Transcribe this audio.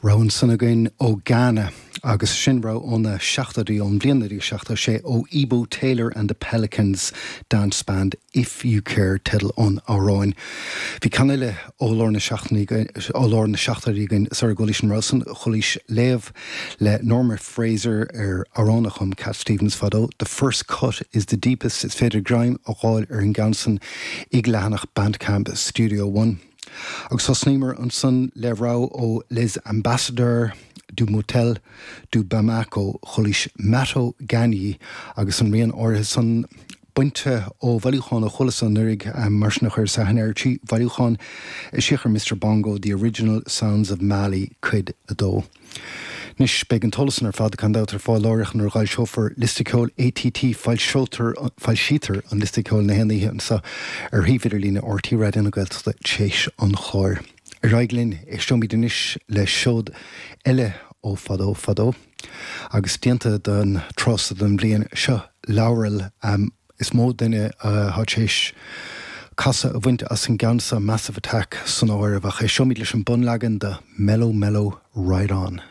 Rogha ansan againn ó Ghana agus sin rogha ó na seachtóidí, ón bhliain 1976, ó Ebo Taylor and the Pelicans Dance Band, If You Care teideal an amhráin. Bhí ceann eile ó lár na ó lár na seachtóidí againn sara gcualaís an rogha san, chualaís léamh le Norma Fraser ar amhrán a chum Cat Stevens fadó, The First Cut is the Deepest. Is féidir greim a dh'fháil ar an gceann san ag leathanach Bandcamp Studio One. Agus thosnaíomar ansan le rogha ó Les Ambassadeurs du Motel de Bamako, chualaís Mato Ganyi agus an rian áirithe san bainte ó bhailiúchán a chualas anuraidh, mar sin a chuireas aithne air, trí bhailiúchán a eisíodh ar Mister Bongo, The Original Sounds of Mali, Cuid 2. Anois, beidh an t-eolas san ar fad, gan dabht, ar fáil láithreach nuair a dh'fhoilseofar liosta ceoil ATT. Foilseotar, foilsítear an liosta ceoil na haon oíche anseo ar shuíomh idirlíne RTÉ Raidió na Gaeltachta t'éis an chláir. Ar aghaidh linn, éisteoimid anois le seod eile ó fadó fadó, agus déanta don tráth so den bhliain seo, Laurel. Is mó duine atá tar éis casadh a bhaint as an gceann seo, Massive Attack san áireamh, ach éisteoimid leis an bunleagan de Mellow Mellow Ride On.